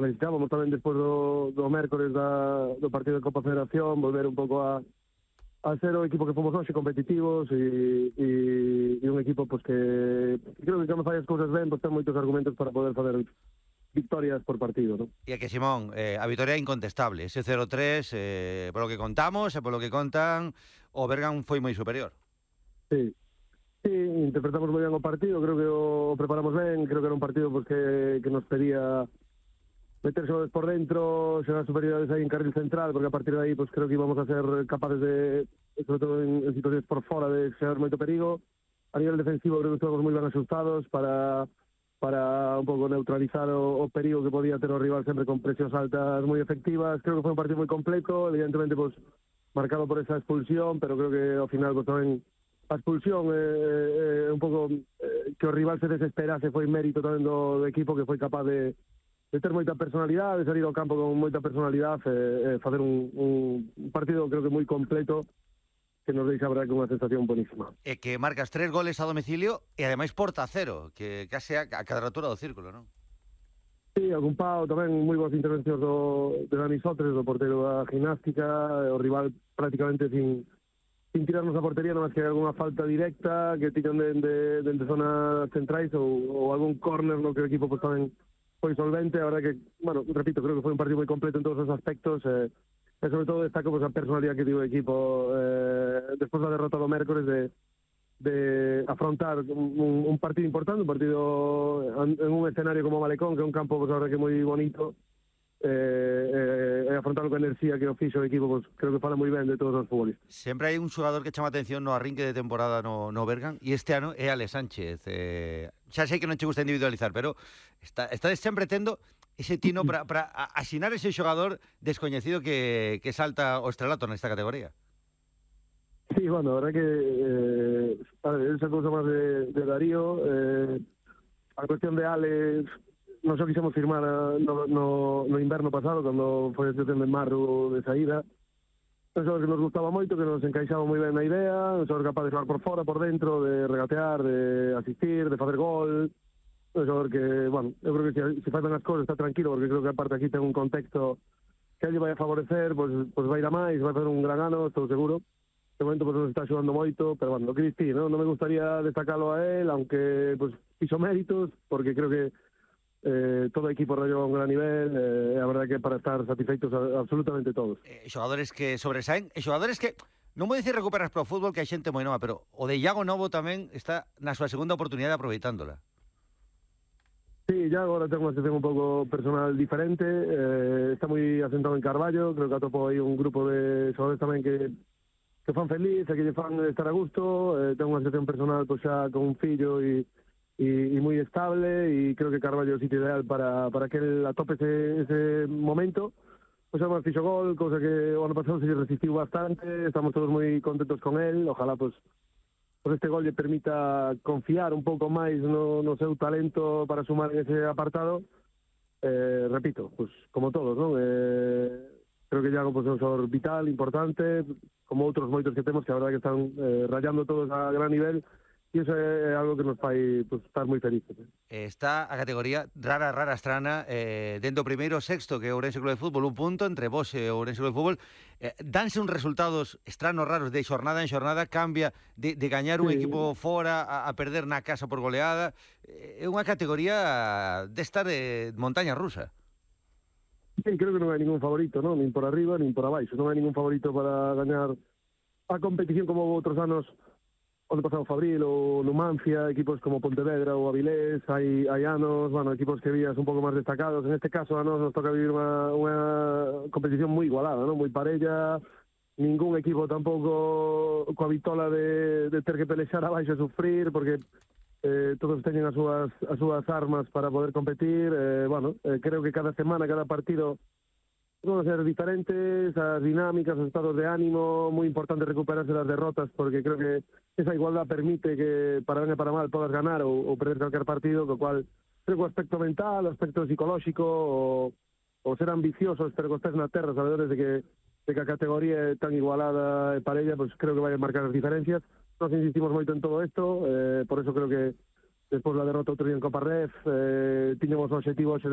necesitábamos tamén despois do mércores do partido de Copa Federación, volver un pouco a ser o equipo que fomos hoxe, competitivos e un equipo pues, que creo que cando fai as cousas ben, pues, ten moitos argumentos para poder fazer victorias por partido, ¿no? E que, Simón, a vitoria é incontestable. Ese 0-3, polo que contamos e polo que contan, o Bergan foi moi superior. Sí, interpretamos moi ben o partido, creo que o preparamos ben, creo que era un partido pues, que nos pedía meterse por dentro, xerar superioridades aí en carril central, porque a partir de aí pues, creo que íbamos a ser capaces de, sobre todo en situaciones por fora, de xerar moito perigo. A nivel defensivo creo que estamos moi ben asustados para un pouco neutralizar o perigo que podía ter o rival sempre con presións altas moi efectivas. Creo que foi un partido moi completo, evidentemente pues, marcado por esa expulsión, pero creo que ao final pues, tamén a expulsión un pouco que o rival se desesperase foi mérito tamén do equipo que foi capaz de ter moita personalidade, de salir ao campo con moita personalidade e facer un partido creo que moi completo que nos deixa, a verdade, con unha sensación bonísima. E que marcas 3 goles a domicilio e ademais porta cero, que case a cadratura do círculo, non? Sí, algún pau, tamén moi boas intervencións de Dani Sotres, do portero da Gimnástica, o rival prácticamente sin tirarnos a portería, non máis que algunha falta directa que tiran de zonas centrais ou algún córner no que o equipo pues, tamén foi solvente. A verdade que, bueno, repito, creo que foi un partido moi completo en todos os aspectos e sobre todo destaco pues, a personalidade que tivo o equipo despois da derrota do mércores de afrontar un partido importante, un partido en un escenario como Malecón, que é un campo pues, a verdade que moi bonito, afrontarlo con enerxía que o fixo o equipo, pues, creo que fala moi ben de todos os futbolistas. Sempre hai un xogador que chama atención no arrinque de temporada no Bergan, e este ano é Ale Sánchez. Xa sei que non che gusta individualizar, pero estades sempre tendo ese tino para asinar ese xogador descoñecido que salta o estrelato nesta categoría. Sí, bueno, a verdad que esa cousa máis de Darío, a cuestión de Ale, non só quixemos firmar no inverno pasado, cando foi a situación de Marru de saída, un xogador que nos gustaba moito, que nos encaixaba moi ben na idea, un xogador capaz de xogar por fora, por dentro, de regatear, de asistir, de facer gol, un xogador que, bueno, eu creo que se fazan as cousas está tranquilo, porque creo que aparte aquí ten un contexto que a lle vai a favorecer, pues vai ir a máis, vai fazer un gran ano, estou seguro. De momento pues, nos está xogando moito, pero bueno, lo que distí, ¿no? Non me gustaría destacarlo a él, aunque pues fixo méritos, porque creo que todo o equipo rayou a un gran nivel, a verdade que para estar satisfeitos absolutamente todos. Xogadores que sobresaen, e xogadores que, non vou dicir recuperas pro fútbol, que hai xente moi nova, pero o de Iago Novo tamén está na súa segunda oportunidade aproveitándola. Sí, ya agora ten unha situación un pouco personal diferente, está moi asentado en Carballo, creo que atopou aí un grupo de xogadores tamén que fan feliz, que lle fan estar a gusto, ten unha situación personal pues, xa con un fillo e moi estable, e creo que Carballo é o sitio ideal para que el atope ese momento. Pues además fixo gol, cousa que o ano pasado se resistiu bastante, estamos todos moi contentos con él, ojalá pues este gol lle permita confiar un pouco máis no seu talento para sumar en ese apartado. Repito, pues como todos, non? Creo que Iago pues, é un xogador vital, importante, como outros moitos que temos que a verdade que están rayando todos a gran nivel, e iso é algo que nos fai pues, estar moi felices. Está a categoría rara estrana dentro do primeiro sexto, que é o Ourense Club de Fútbol, un punto entre vos e o Ourense Club de Fútbol. Danse uns resultados estranos, raros, de xornada en xornada, cambia de gañar un equipo fora a perder na casa por goleada. É unha categoría desta de montaña rusa. Sí, creo que non hai ningún favorito, ¿no? Nin por arriba, nin por abaixo. Non hai ningún favorito para gañar a competición como outros anos, onde pasado Fabril ou Numancia, equipos como Pontevedra ou Avilés, hai anos, bueno, equipos que vías un pouco máis destacados. En este caso a nos toca vivir unha competición moi igualada, ¿no? Moi parella, ningún equipo tampouco coa vitola de ter que pelexar abaixo e sufrir, porque todos teñen as súas armas para poder competir. Creo que cada semana, cada partido van a ser diferentes, as dinámicas, os estados de ánimo, moi importante recuperarse das derrotas, porque creo que esa igualdad permite que para ben e para mal podas ganar ou perder calquer partido, co cual creo que o aspecto mental, o aspecto psicolóxico, o ser ambiciosos, pero que estés na terra, sabedores de que a categoría é tan igualada e parella, pues creo que vai a marcar as diferencias. Nos insistimos moito en todo isto, por eso creo que despois da derrota outro día en Copa Ref, tiñamos o objetivo